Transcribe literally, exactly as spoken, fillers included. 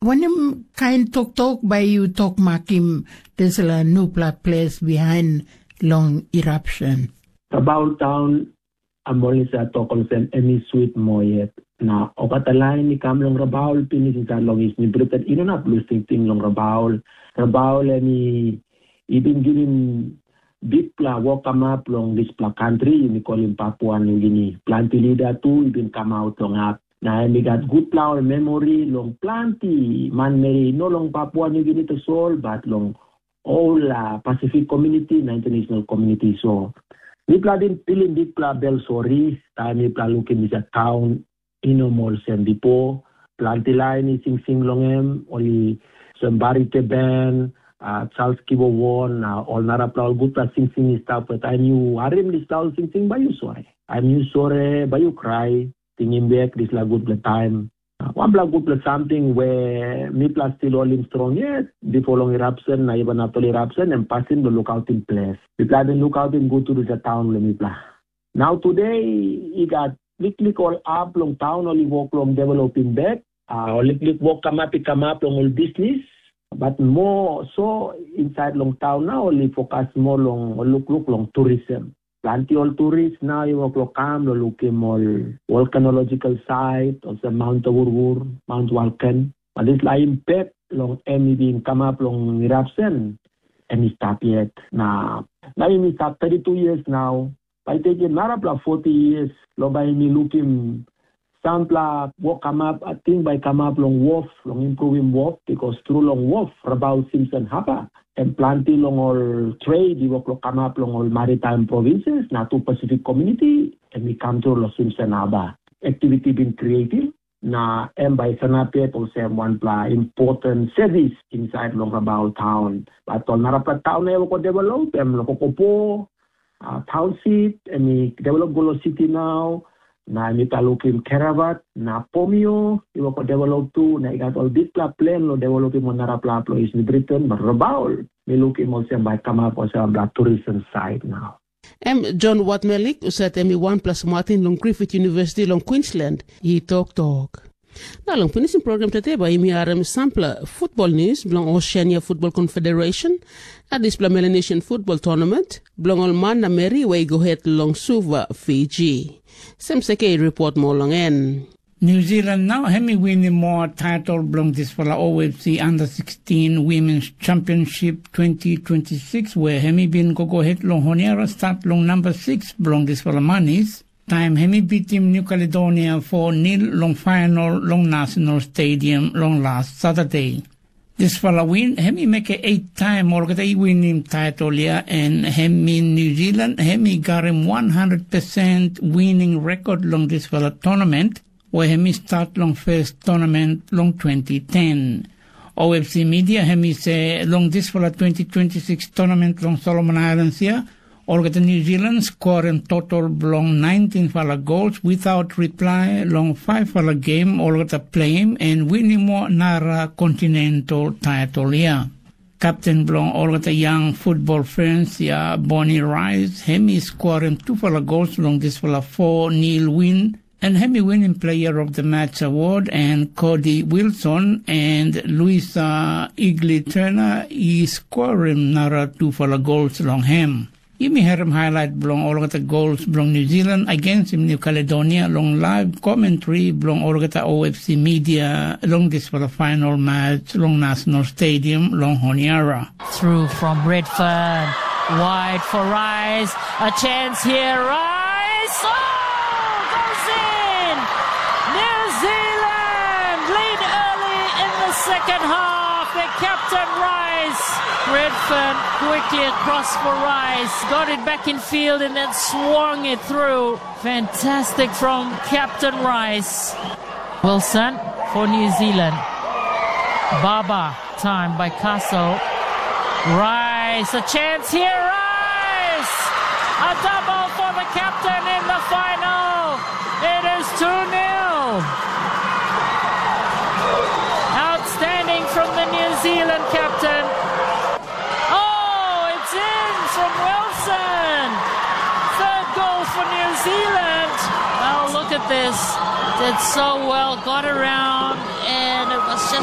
Wanem kain toktok bai yu tok makim dispela nupela ples bihain long eruption? Rabaul taun em ol i sa tok olsem em i swit moa yet. Na olgeta lain i kam long Rabaul pinis insait long Isni Britain i no inap lus tingting long Rabaul. Rabaul em i i bin givim bikpela wokamap long dispela kantri yumi kolim Papua Nugini. Planti lida tu i bin kamap long hap, na em i gat gutpela ol memori long planti manmeri, no long Papua Nugini tasol, bat long ol uh, Pacific Community na international community. So mipela bin pilim bikpela bel sori taim mipela lukim disa taun i no moa olsem bipo. Planti lain i singsing long em, ol i sem Barite Ben, uh, Charles Kibo Won, na ol narapela ol gutpela singsing i stap. Taim yu harim dispela ol singsing, bai yu sore. Taim yu sore, bai yu krai, tingim bek dispela gutpela taim. Wanpela gutpela samting we mipela stil holim strong yet, bipo long eruption na even after eruption, em pasin bilong lukautim ples. Mipela bin lukautim gut tru dispela taun bilong mipela. Nau tude i gat liklik ol hap long taun ol i wok long developim bek. Ol liklik wok kamap i kamap long ol bisnis, bat moa so insait long taun nau ol i fokus moa long ol lukluk long turism. Planti ol turis nau i wok long kam long lukim ol volkanologikal sait olsem Mount Awurwur, Mount Walken. Bat dispela impek long em i bin kamap long eruption, em i stap yet. Na nau em i stap thirty two years nau. Bai tekim narapela forty years long bai mi lukim sampela wok kamap, ating bai kamap long wof, long improvim wof, bikos tru long wof, Rabaul Simpson Haba, em planti long ol trade i wok long kamap long ol maritime provinces, na tu Pacific Community, em i kam tru long Simpson Haba. Activity bin creative, na em bai sanap yet olsem wanpela important service inside long Rabaul town. Bat ol narapela town e wok develop, em long Kokopo, uh, township, em i develop go long city now, na em i lukim Keravat, na Pomio, i wok develop tu, na i gat ol bikpela plan lo developim ol narapela plois ni Britain, but Rabaul, mi lukim olsem bai kamap olsem bla tourism side now. Em John Watmelik, usat em i wanpela smatin long Griffith University long Queensland, i toktok. Na long pinisim program today bai yumi harim sampela football news bilong Oceania Football Confederation, na dispela Melanesian Football Tournament bilong ol man na meri we i go het long Suva, Fiji. Sem seke i report moa long en. New Zealand nau em i winim moa title bilong dispela O F C Under sixteen Women's Championship twenty twenty-six, where em i bin go go het long Honiara start long number six bilong dispela manis, taim em i bitim New Caledonia four nil long final long National Stadium long last Saturday. Dispela win em i mekim eit taim olgeta i winim title ya, en em i New Zealand em i karim one hundred percent winning record long dispela tournament, where em i start long first tournament long twenty ten. O F C media em i se long dispela twenty twenty-six tournament long Solomon Islands ya, olgeta New Zealand skorim total bilong nineteen-fala gols without reply long five-fala game olgeta pleim en winim moa nara kontinental title ya. Kapten bilong olgeta young football fans ya, Bonnie Rice, em i skorim tupela gols long dispela four nil win, en em i winim Player of the Match award, en Cody Wilson en Luisa Igli Turner i skorim nara tupela gols long em. Yumi herim highlight bilong olgeta gols bilong New Zealand against New Caledonia long live commentary bilong olgeta O F C media long dispela final match long National Stadium long Honiara. Through from Redfern, wide for Rice, a chance here, Rice, oh, goes in! New Zealand lead early in the second half. Their captain Rice, Redfern quickly across for Rice, got it back in field and then swung it through. Fantastic from Captain Rice. Wilson for New Zealand. Baba, time by Castle. Rice, a chance here, Rice! A double for the captain in the final. It is two nil. Outstanding from the New Zealand captain. Oh, it's in from Wilson. Third goal for New Zealand. Oh, look at this. Did so well, got around, and it was just